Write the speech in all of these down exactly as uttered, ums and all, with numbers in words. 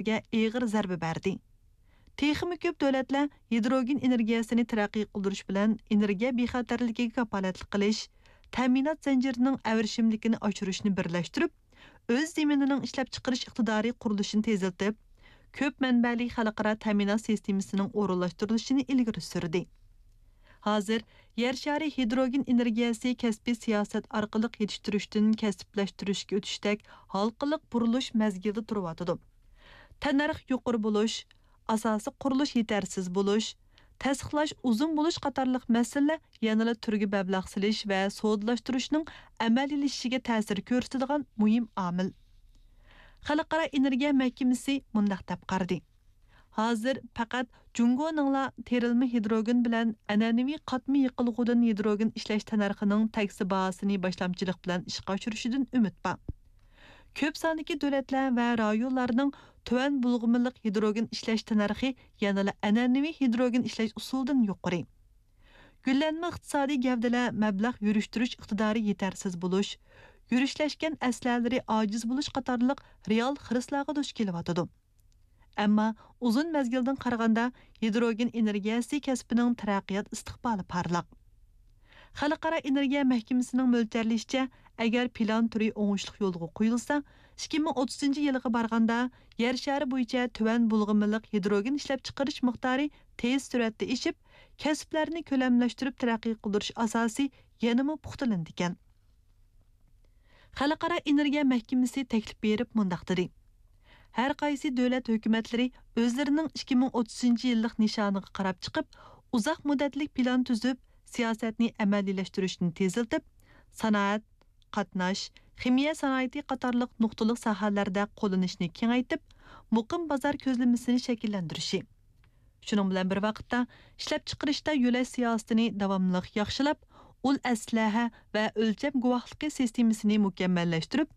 ئېگىزلىكلەرگە ئېغىر زەربە بەردى. تېخىمۇ كۆپ دۆلەتلەر ھىدروگېن ئېنېرگىيەسىنى تەرەققىي قىلدۇرۇش بىلەن ئېنېرگىيە بىخەتەرلىكىگە كاپالەتلىك قىلىش، تەمىنات زەنجىرىنىڭ ئەۋرىشىملىكىنى ئاشۇرۇشنى بىرلەشتۈرۈپ، ئۆز زېمىنىنىڭ ئىشلەپچىقىرىش ئىقتىدارى قۇرۇلۇشىنى تېزلىتىپ، كۆپ مەنبەلىك خەلقئارا تەمىنات سىستېمىسىنىڭ ئورۇنلاشتۇرۇلۇشىنى ئىلگىرى سۈردى. ھازىر يەر شارى ھىدروگېن ئېنېرگىيەسى كەسپىي سىياسەت ئارقىلىق يېتىشتۈرۈشتىن كەسىپلەشتۈرۈشكە ئۆتۈشتەك ھالقىلىق بۇرۇلۇش مەزگىلىدە تۇرۇۋاتىدۇ. تەننەرخ يۇقىرى بولۇش، ئاساسىي قۇرۇلۇش يېتەرسىز بولۇش، تەستىقلاش ئۇزۇن بولۇش قاتارلىق مەسىلىلەر يەنىلا تۈرگە مەبلەغ سېلىش ۋە سودىلاشتۇرۇشنىڭ ئەمەلىيلىشىشىگە تەسىر كۆرسىتىدىغان مۇھىم ئامىل. خەلقئارا ئېنېرگىيە مەھكىمىسى مۇنداق دەپ قارىدى: ھازىر پەقەت جۇڭگونىڭلا تېرىلمە ھىدروگېن بىلەن ئەنئەنىۋى قاتما يېقىلغۇدىن ھىدروگېن ئىشلەش تەننەرخىنىڭ تەكسى باھاسىنى باشلامچىلىق بىلەن ئىشقا ئاشۇرۇشىدىن ئۈمىد بار. كۆپ ساندىكى دۆلەتلەر ۋە رايونلارنىڭ تۆۋەن بۇلغىمىلىق ھىدروگېن ئىشلەش تەننەرخى يەنىلا ئەنئەنىۋى ھىدروگېن ئىشلەش ئۇسۇلىدىن يۇقىرى. گۈللەنمە ئىقتىسادىي گەۋدىلەر مەبلەغ يۈرۈشتۈرۈش ئىقتىدارى يېتەرسىز بولۇش، يۈرۈشلەشكەن ئەسلىھەلىرى ئاجىز بولۇش قاتارلىق رېئال خىرىسلارغا دۇچ كېلىۋاتىدۇ. ئەمما ئۇزۇن مەزگىلدىن قارىغاندا، ھىدروگېن ئېنېرگىيەسى كەسپىنىڭ تەرەققىيات ئىستىقبالى پارلاق. خەلقئارا ئېنېرگىيە مەھكىمىسىنىڭ مۆلچەرلىشىچە، ئەگەر پىلان تۈرى ئوڭۇشلۇق يولغا قويۇلسا، ئىككى مىڭ ئوتتۇزىنچى يىلغا بارغاندا، يەر شارى بويىچە تۆۋەن بۇلغىمىلىق ھىدروگېن ئىشلەپچىقىرىش مىقدارى تېز سۈرئەتتە ئېشىپ، كەسىپلەرنى كۆلەملەشتۈرۈپ تەرەققىي قىلدۇرۇش ئاساسى يەنىمۇ پۇختىلىنىدىكەن. خەلقئارا ئېنېرگىيە مەھكىمىسى تەكلىپ بېرىپ مۇنداق دېدى: ھەر قايسى دۆلەت ھۆكۈمەتلىرى ئۆزلىرىنىڭ ئىككى مىڭ ئوتتۇزىنچى يىللىق نىشانىغا قاراپ چىقىپ، ئۇزاق مۇددەتلىك پىلان تۈزۈپ، سىياسەتنى ئەمەلىيلەشتۈرۈشنى تېزلىتىپ، سانائەت، قاتناش، خىمىيە سانائىتى قاتارلىق نۇقتىلىق ساھەلەردە قوللىنىشنى كېڭەيتىپ، مۇقىم بازار كۆزلىمىسىنى شەكىللەندۈرۈشى، شۇنىڭ بىلەن بىر ۋاقىتتا، ئىشلەپچىقىرىشتا يۆلەش سىياسىتىنى داۋاملىق ياخشىلاپ، ئۇل ئەسلىھە ۋە ئۆلچەم گۇۋاھلىقى سىستېمىسىنى مۇكەممەللەشتۈرۈپ،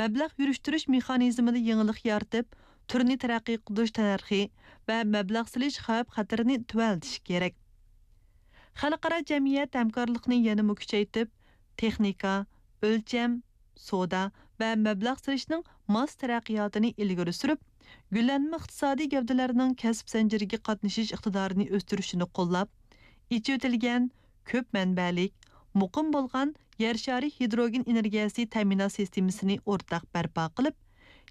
مەبلەغ يۈرۈشتۈرۈش مېخانىزمىدا يېڭىلىق يارىتىپ، تۈرنى تەرەققىي قىلدۇرۇش تەننەرخى ۋە مەبلەغ سېلىش خەۋپ-خەتىرىنى تۆۋەنلىتىش كېرەك. خەلقئارا جەمئىيەت ھەمكارلىقنى يەنىمۇ كۈچەيتىپ، تېخنىكا، ئۆلچەم، سودا ۋە مەبلەغ سېلىشنىڭ ماس تەرەققىياتىنى ئىلگىرى سۈرۈپ، گۈللەنمە ئىقتىسادىي گەۋدىلەرنىڭ كەسىپ زەنجىرىگە قاتنىشىش ئىقتىدارىنى ئۆستۈرۈشىنى قوللاپ، ئېچىۋېتىلگەن، كۆپ مەنبەلىك، مۇقىم بولغان يەر شارى ھىدروگېن ئېنېرگىيەسى تەمىنات سىستېمىسىنى ئورتاق بەرپا قىلىپ،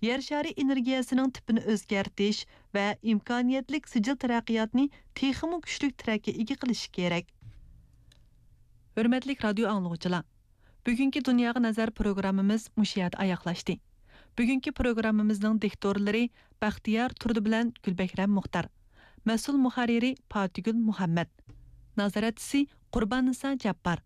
يەر شارى ئېنېرگىيەسىنىڭ تىپىنى ئۆزگەرتىش ۋە ئىمكانىيەتلىك سىجىل تەرەققىياتنى تېخىمۇ كۈچلۈك تىرەككە ئىگە قىلىشى كېرەك. ھۆرمەتلىك رادىيو ئاڭلىغۇچىلار، بۈگۈنكى دۇنياغا نەزەر پروگراممىمىز مۇشۇ يەردە ئاياغلاشتى. بۈگۈنكى پروگراممىمىزنىڭ دىكتورلىرى بەختىيار تۇردى بىلەن گۈلبەھرەم مۇختار. مەسئۇل مۇھەررىرى پاتىگۈل مۇھەممەت. نازارەتچىسى قۇرباننىسا جاپپار.